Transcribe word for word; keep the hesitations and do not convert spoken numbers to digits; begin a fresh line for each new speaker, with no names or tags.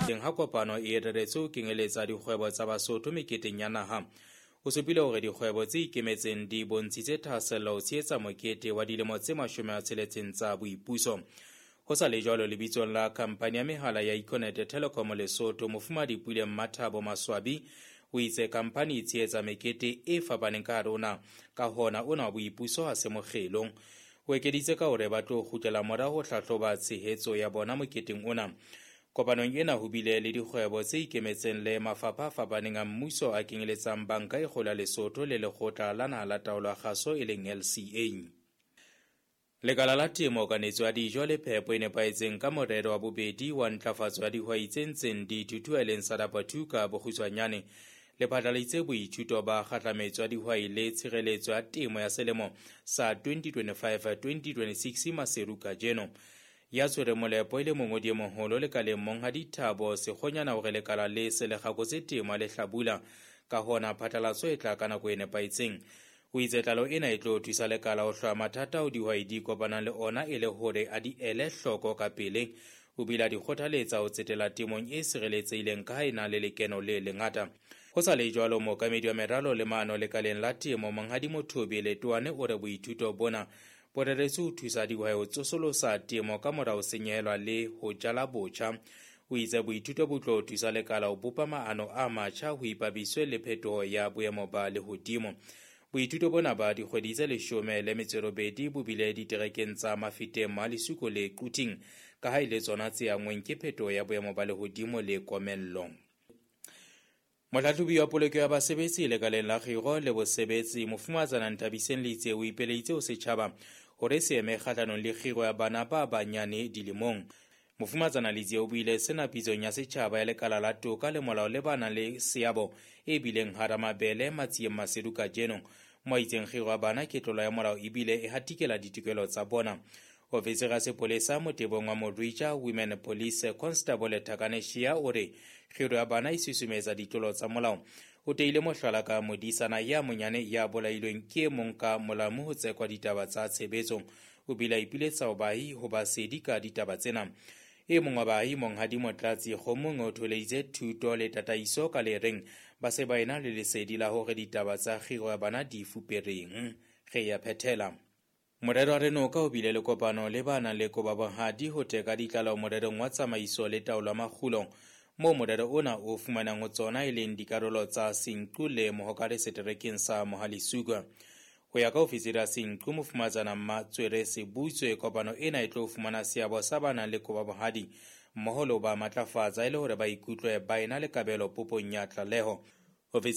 Teng ha kopano e reretswe ho kenyeletsa dikgwebo tsa Basotho meketeng ya naha. O supile hore dikgwebo tse ikemetseng di bontshitse thahasello ho tshehetsa mokete wa dilemo tse mashome a tsheletseng tsa boipuso. Ho sa le jwalo, lebitsong la khampani ya mehala ya Econet Telecom Lesotho, Mofumahadi Puleng Mathabo Maswabi o itse khampani e tshehetsa mekete e fapaneng ka hare ho naha, ka hona ona wa boipuso ha se mokgelo. O ekeditse ka hore ba tlo kgutlela morao ho hlahloba tshehetso ya bona moketeng ona. Kopanong ena ho bile le dikgwebo tse ikemetseng le mafapha a fapaneng a mmuso a kenyeletsang Banka e Kgolo ya Lesotho le Lekgotla la Naha la Taolo ya Kgaso e leng L C A. Lekala la temo, kanetso ya dijo le phepo e nepahetseng ka morero wa bobedi wa ntlafatso ya dihwai tse ntseng di thuthuha e leng SADAPA two ka bokgutshwanyane, le phatlaladitse boithuto ba kgahlametso ya dihwai le tshireletso ya temo ya selemo sa twenty twenty-five twenty twenty-six Maseru kajeno. Ya tshwereng molepo e le mongodi e moholo lekaleng Monghadi Thabo Sekgonyana hore lekala le se le kgakotse temo le hlabula, ka hona phatlalatso e tla ka nako e nepahetseng. O itse tlaleho ena e tlo thusa lekala ho hlwaya mathata ao dihwai di kopanang le ona e le hore a di ele hloko ka pele. O bile a di kgothaletsa ho tsetela temong e sireletsehileng ka ha e na le lekeno le lengata. Ho sa le jwalo, mookamedi wa meralo le maano lekaleng la temo Monghadi Mothobi Letoane o re boithuto bona bo reretswe ho thusa dihwai ho tsosolosa temo ka mora ho senyehelwa le ho jala botjha. O itse boithuto bo tlo thusa lekala ho bopa maano a matjha ho ipapiswe le phetoho ya boemo ba lehodimo. Boithuto bona ba dikgwedi tse leshome le metso e robedi bo bile diterekeng tsa Mafeteng, Malisuko le Quthing, ka ha e le tsona tse anngweng ke phetoho ya boemo ba lehodimo le komello. Mohlahlobi wa poloko ya basebetsi lekaleng la kgiro le bosebetsi Mofumahatsana Nthabiseng Letsie o ipeleditse ho setjhaba hore se eme kgahlanong le kgiro ya bana ba banyane dilemong. Mofumahatsana Letsie o buile sena pitsong ya setjhaba ya lekala la toka le molao le ba nang le seabo e bileng hara mabele Matsieng Maseru kajeno. Mo itseng kgiro ya bana ke tlolo ya molao ebile e hatikela ditokelo tsa bona. Ofisiri ya sepolesa motebong wa Morija Women Police Constable Thakane Shia o re kgiro ya bana e susumetsa ditlolo tsa molao. O teile mohlala ka modisana ya monyane ya bolailweng ke e mong ka molamu ho tsekwa ditaba tsa tshebetso. O bile a ipiletsa ho baahi ho ba sedi ka ditaba tsena. E mong wa baahi Monghadi Motlatsi Kgomong o tholeditse thuto le tataiso ka le reng ba se ba ena le lesedi la hore ditaba tsa kgiro ya bana di fupereng. Re ya phethela. Morero wa Renoka o bile le kopano le ba nang le koba bohadi ho teka ditlaleho morerong wa tsamaiso le taolo ya makgulo, moo morero ona o fumanang ho tsona e leng dikarolo tsa Senqu le Mohokare seterekeng sa Mohalesuka. Ho ya ka ofisiri ya Senqu Mofumahatsana Mmatswere Sebutswe, kopano ena e tlo fumana seabo sa ba nang le koba bohadi mmoho le ho ba matlafatsa e le hore ba ikutlwe ba ena le kabelo popong ya tlaleho. Ofisiri